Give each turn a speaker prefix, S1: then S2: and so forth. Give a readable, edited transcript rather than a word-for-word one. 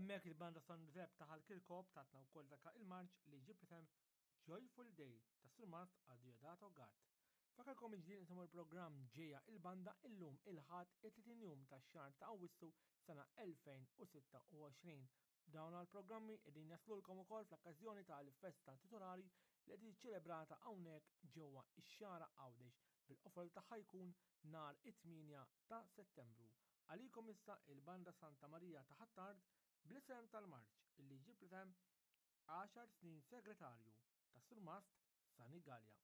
S1: Hemmhekk il-banda San Giuseppe ta' Ħal Kirkop tatna wkoll dak il-marċ li jġib l-isem Joyful Day tas-Surmast Adeodato Gatt. Fakarkom il-ġdid nisimgħu l-programm Ġejja il-Banda illum il-Ħadd it-30 jum tax-xahar ta' Awwissu sena 2026. Dawn għall-programmi qegħdin jaslulkom ukoll fl-okkażjoni tal-festa titolari li qed ċelebrata hawnhekk ġewwa x-Xagħra Għawdex bil-qofol tagħha jkun nhar it-8 ta' Settembru. Għalikom issa il-Banda Santa Marija ta' Ħ'Attard bl-isem tal-marċ illi jġib l-isem 10 snin segretarju tas-Surmast Sani Galea.